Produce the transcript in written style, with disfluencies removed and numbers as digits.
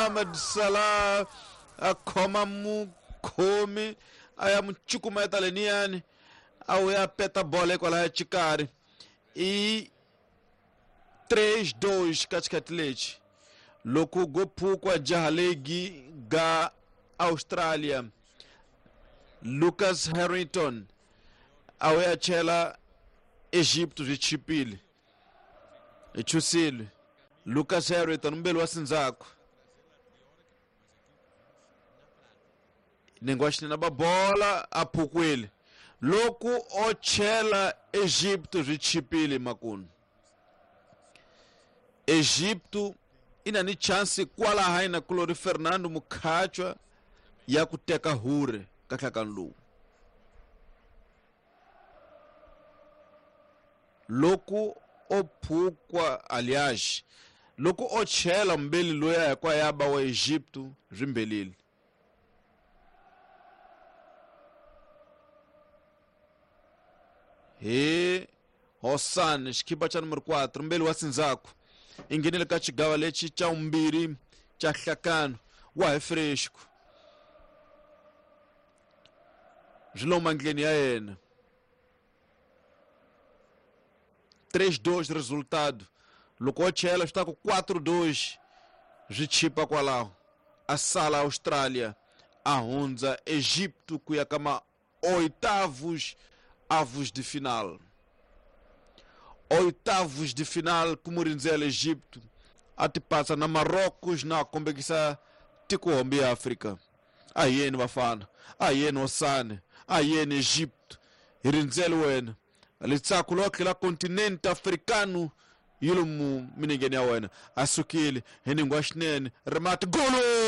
Mohamed Salah a khoma mukhomi a ya mu cukumeta leniyani a wu ya peta bolo hikwalaho xikarhi i 3-2 ka xikhathi lexi loko go phukwa jaha legi ga Australia Lucas Harrington a wu ya chela Egypt swi chipile hi chusile Lucas Harrington mbeli wa sindzhaku nenge wa xinene ba bola a phukwile loko o chela Egypt swi chipile makunu Egipto ina ni chance kwalaha ina kulori Fernando Mukhachwa ya ku teka hure ka nhlakano lowu loko o phukwa aliás loko o chela mbeli loyi a ya ba wa Egipto swi mbelile hi Hosan xikhipa xa numero 4 mbeli wa sindzhaku i nghenile ka xigava lexi xa vumbirhi xa hlakano wa hi fresco swi lo mandleni ya yena 3-2 resultado loko o chela swi ta ku 4-2 swi chipa kwalaho a sala Australia a hundza Egipto ku ya ka ma oitavos avos de final oitavos de final ku mu rindzela Egipto a ti pasa na Marrocos na kombekisa tikohombe ya Afrika a hi yeni vafana a hi yeni Osane a hi yeni Egipto hi rindzele wena litsako lotlhe la kontinente africano yi lomu minengeni ya wena a sukile hi ningwa xinene rimati golo.